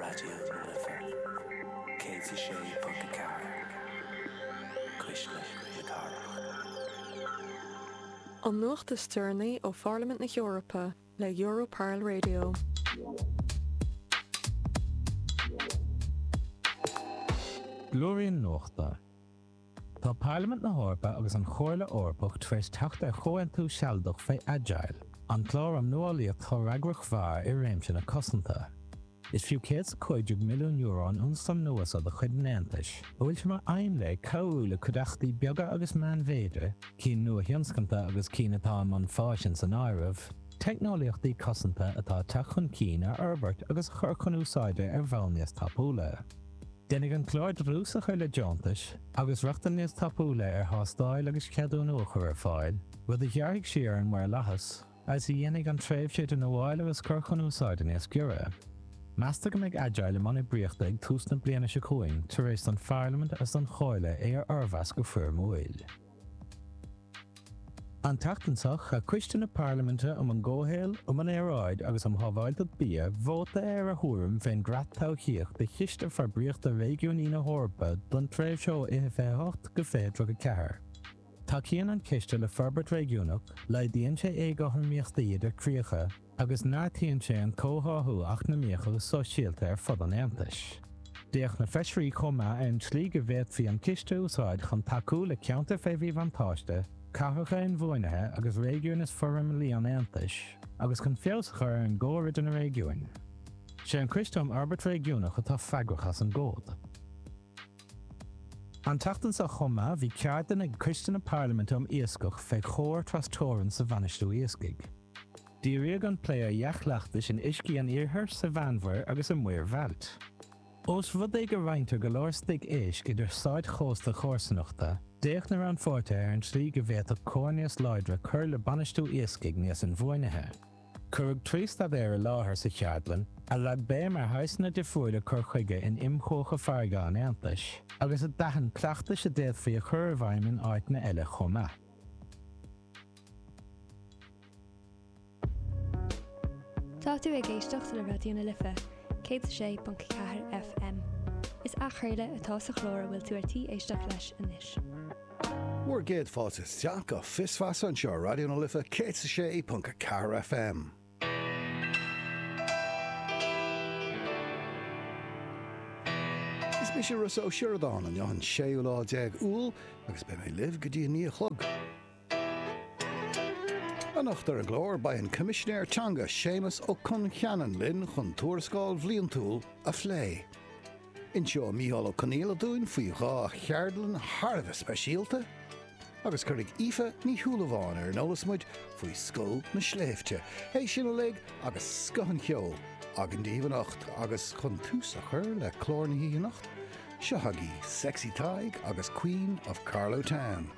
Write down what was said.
Raidió na Life 106.4, Cuisle na Cathrach. An nuacht is deireanaí ó Pharlaimint na hEorpa le Europarl Radio. Blúirín Nuachta. Tá Parlaimint na hEorpa agus an Chomhairle Eorpach tar éis teacht ar chomhaontú sealadach fé Agile, an clár um nuálaíocht shofhreagrach mhear i réimse na cosanta. Is fiú €115 milliún an ionstraim nua seo de chuid an Aontais, a bhfuil sé mar aidhm léi cabhrú le cuideachtaí beaga agus meánmhéide, cinn nuathionscanta agus cinn atá i mbun fáis san áireamh, teicneolaíochtaí cosanta atá ag teacht chun cinn a fhorbairt agus a chur chun úsáide ar bhonn níos tapúla. Déanfaidh an clár dlús a chur le deontais agus rochtain níos tapúla ar thástáil agus ceadúnú a chur ar fáil, rud a ghearrfaidh siar ar an maorlathas agus a dhéanfaidh an tréimhse idir nuáil agus cur chun úsáide níos giorra. Meastar go mbeidh Agile i mbun oibríochta ag tús na bliana seo chugainn tar éis don Pharlaimint agus don Chomhairle é a fhormheas go foirmiúil. An tseachtain seo, chaith Coiste na Parlaiminte um an gComhshaol, um an Aeráid agus um Shábháilteacht Bia vóta ar a thuairim fén gcreat todhchaíoch do Chiste Forbraíochta Réigiúnaí na hEorpa don tréimhse ó 2028 go 2034. Tacaíonn an ciste le forbairt réigiúnach, laghdaíonn sé éagothromaíochtaí idir críocha, agus neartaíonn sé an comhtháthú eacnamaíoch agus sóisialta ar fud an Aontais. D'fhéach na feisirí chomh maith ar an tslí go bhféadfaí an ciste a úsáid chun tacú le ceantair fé mhíbhuntáiste, cathracha inbhuanaithe agus réigiúin is forimeallaí an Aontais, agus chun feabhas a chur ar an gcomhar idir na réigiúin. Sé an Coiste um Fhorbairt Réigiúnach atá freagrach as an gcomhad. An tseachtain seo chomh maith bhí ceardlann ag Coiste na Parlaiminte um Iascach fé chomhar trasteorann sa bhainistiú iascaigh. Díríodh an plé ar dhea-chleachtais in uiscí an Iarthair, sa Mheánmhuir agus i Muir Bhailt. Ós rud é go roinntear go leor stoic éisc idir stáit chósta chomharsanachta, d'fhéach na rannpháirtithe ar an tslí go bhféadfadh comhar níos láidre cur le bainistiú iascaigh níos inbhuanaithe. Cuireadh 3 staidéar i láthair sa cheardlann, a leag béim ar shaghsanna difriúla cur chuige in imchuacha farraige an Aontais, agus a d'aithin cleachtais a d'fhéadfaí a chur i bhfeidhm in áiteanna eile chomh maith. Tá tú ag éisteacht le Raidió na Life 106.4 FM. Is athchraoladh atá sa chlár a bhfuil tú ar tí éisteacht leis anois. Bhur gcéad fáilte isteach go Fios Feasa anseo ar Raidió na Life 106.4 FM. Is mise Rossa Ó Sioradáin, inniu an séú lá déag Iúil agus beidh mé libh go dtí a naoi a chlog. Anocht ar an gclár, beidh an Coimisinéir Teanga Séamus Ó Concheanainn linn chun tuarascáil bhliantúil a phlé. Inseoidh Micheál Ó Conghaile dúinn faoi dhá cheardlann thar a bheith speisialta agus cuirfidh Aoife Ní Shúilleabháin ar an eolas muid faoi Scoil na Sléibhte. É sin uilig agus scoth an cheoil againn daoibh anocht agus chun tús a chur le clár na hoíche anocht, seo agaibh Sexy Tadhg agus Queen of Carlow Town.